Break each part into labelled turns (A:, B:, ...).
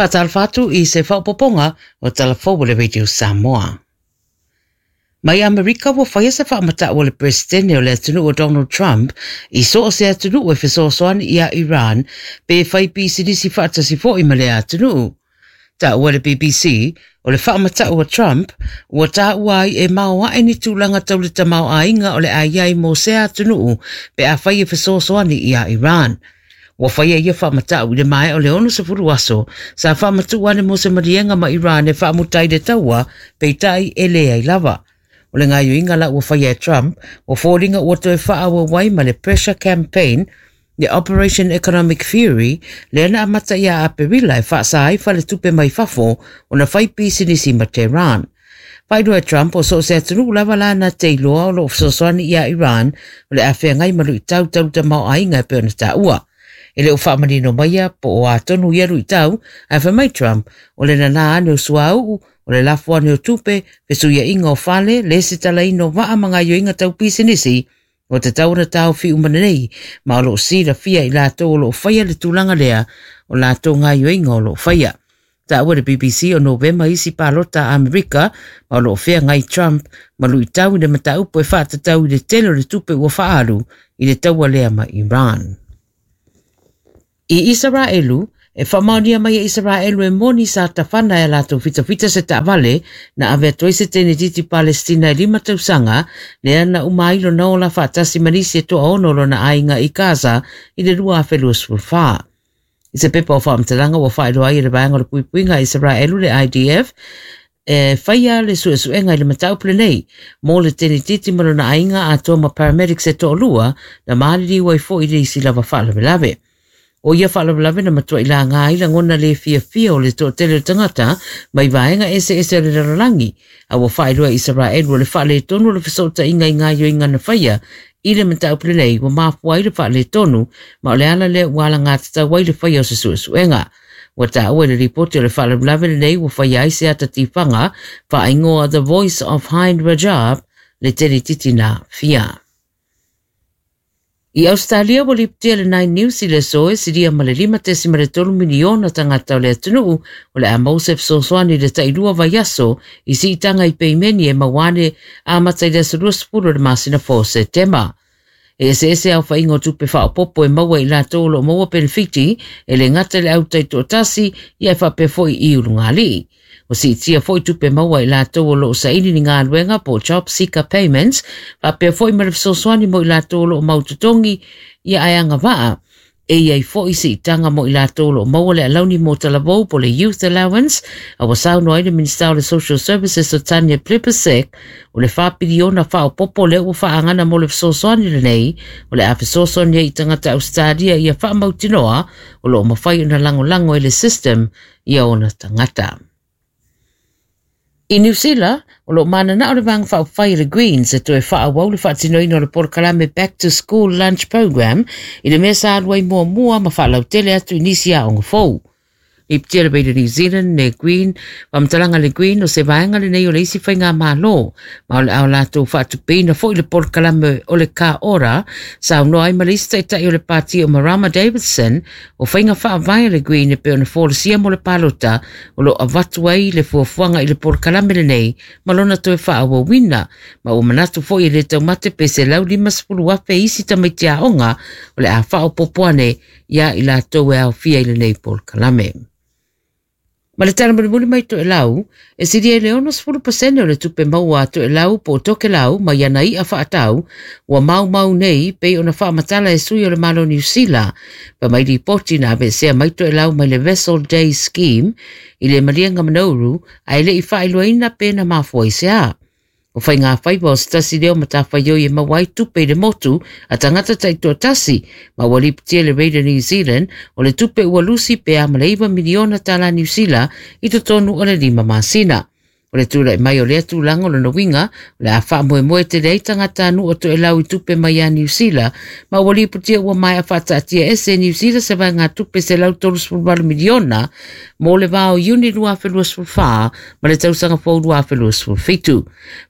A: Faatalofa atu i se faaopoopoga o Tala Fou o le Radio Samoa. Mai Amerika ua faia se faamatau a le Peresetene o le atunuu o Donald Trump i so o se atunuu e fesoasoani iā Iran pe fai pisinisi faatasi foi ma lea atunuu. Taua le BBC, o le faamatau a Trump ua taua ai e maoae ni tulaga tau le tamaoaiga o le a i ai mo sea atunuu pe afai e fesoasoani iā Iran. Ua faia ia faamatau i le maea o le 60 aso sa faamatuu ane mo se maliega ma Iran e faamuta ai le taua, peitai e leai lava. O le gaoioiga la ua faia e Trump, ua foliga ua toe faaauau ai ma le pressure campaign le Operation Economic Fury lea na amata ia Aperila e faasa ai faletupe mai fafo ona fai pisinisi ma Tehran. Faailoa e Trump o so o se atunuu lava la na te iloa o lo o fesoasoani iā Iran o le a feagai ma luitau tau tamaoaiga e pei ona taua. E le o faamanino maia po o a tonu ia luitau, ae fai mai Trump o le nanā ane o suauu, o le lafo ane o tupe, fesuiaiga o fale, lesitalaina o vaa ma gaoioiga tau pisinisi, ua tatau ona taofi uma nei, ma o lo o silafia i latou o lo o faia le tulaga lea o latou gaoioiga o lo o faia. Taua le BBC o Novema isi palota a Amerika ma o lo o feagai Trump ma luitau i le mataupu e faatatau i le tele o le tupe ua faaalu i le taua lea ma Iran. I Isaraelu, e faamaonia mai e Isaraelu e moni sa tafana e a latou fitafita se taavale na ave atu ai se tenetiti Palestina e 5 tausaga lea na uma ai lona ola faatasi ma nisi e toaono o lona aiga i Gaza i le 2024. I se pepa o faamatalaga ua faailoa ai e le Vaega o le Puipuiga a Isaraelu le IDF e faia le suesuega i le mataupu lenei mo le tenetiti ma lona aiga atoa ma paramedics e toalua na maliliu ai foi i le isi lava faalavelave. O ia faalavelave na matuai laga ai lagona le fiafia o le toatele o tagata mai vaega eseese o le lalolagi, a ua faailoa e Isaraelu o le faaletonu o le fesootaiga i gaoioiga na faia i le mataupu lenei ua mafua ai le faaletonu, ma o le ala lea ua alagatatau ai le faia o se suesuega. Ua taua i le lipoti o le faalavelave lenei ua faia ai se ata tifaga faaigoa The Voice of Hind Rajab le tenetiti na aafia. I Ausetalia ua lipotia le Nine News i le aso e silia ma le 5.3 miliona tagata o le atunuu o le a maua se fesoasoani i le tailua vaiaso i siitaga i peimeni e maua ane amata i le aso 20 o le masina fou o Setema. E eseese aofaiga o tupe faaopoopo e maua e i latou o lo o maua penefiti e le gata i le au taitoatasi ia e faapea foi i ulugalii. Ua siitia foi tupe maua i latou o lo o saili ni galuega po o job seeker payments faapea foi ma le fesoasoani mo i latou o lo o mau totogi ia ae agavaa. E i ai foi siitaga mo i latou o lo o maua le alauni mo talavou po o le Youth Allowance, a ua saunoa ai le Minisita o le Social Services o Tanya Plibersek o le 4 piliona faaopoopo lea ua faaagana mo le fesoasoani lenei o le a fesoasoani ai i tagata Ausetalia ia faamautinoa o lo o mafai ona lagolago e le system ia ona tagata. I Niu Sila, o lo o mananao le Vaega Faaupufai a le Greens e toe faaauau le faatinoina o le polokalame Back to School Lunch Program i le mea sa alu ai muamua ma faalautele atu i nisi aoga fou. Lipotia le Radio New Zealand le Green, faamatalaga le Green o se vaega lenei o le isi faigamalo ma o le a latou faatupeina foi le polokalame o le Ka Ora, saunoa ai ma le isi taitai o le pati o Marama Davidson o faiga faavae a le Green e pei ona folasia mo le palota o lo o avatu ai le fuafuaga i le polokalame lenei ma lona toe faaauauina, ma ua manatu foi e le taumate pe 150,000 isi tamaiti aoga o le a faaopoopo ane iā i latou e aofia i lenei polokalame. Ma le tala mulimuli mai Toelau, e silia i le 60% o le tupe maua a Toelau po o Tokelau mai ana i'a faatau ua maumau nei pei ona faamatala e sui o le Malo o Niu Sila. Fai mai lipoti na aveesea mai Toelau mai le Vessel Day Scheme i le maliega Manouru ae le i faailoaina pe na mafua i se a. O faigafaiva o se tasi lea o matafaioi e maua ai tupe i le motu a tagata taitoatasi, ma ua lipotia le Radio New Zealand o le tupe ua lusi pe a ma le 9 miliona tala Niu Sila i totonu o le 5 masina. O le tulai mai o lea tulaga o lona uiga o le a faamoemoe tele ai tagatanuu o Toelau i tupe mai ia Niu Sila, ma ua lipotia ua maea faataatiaese e Niu Sila se vaegatupe $138 miliona mo le va o Iuni 2024 ma le tausaga fou 2027.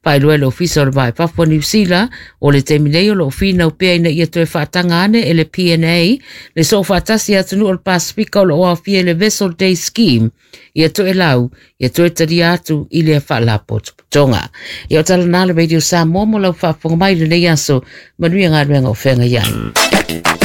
A: Faailoa e le Ofisa o le Va i Fafo o Niu Sila, o le taimi nei o lo o finau pea ina ia toe faataga ane e le PNA le soofaatasi a atunuu o le Pasefika o lo o aofia i le Vessel Day Scheme ia Toelau ia toe talia atu i lea faalapotopotoga. Ia o tala na le Radio Samoa mo lau faafofoga mai i lenei aso. Manuia galuega o feagai ai.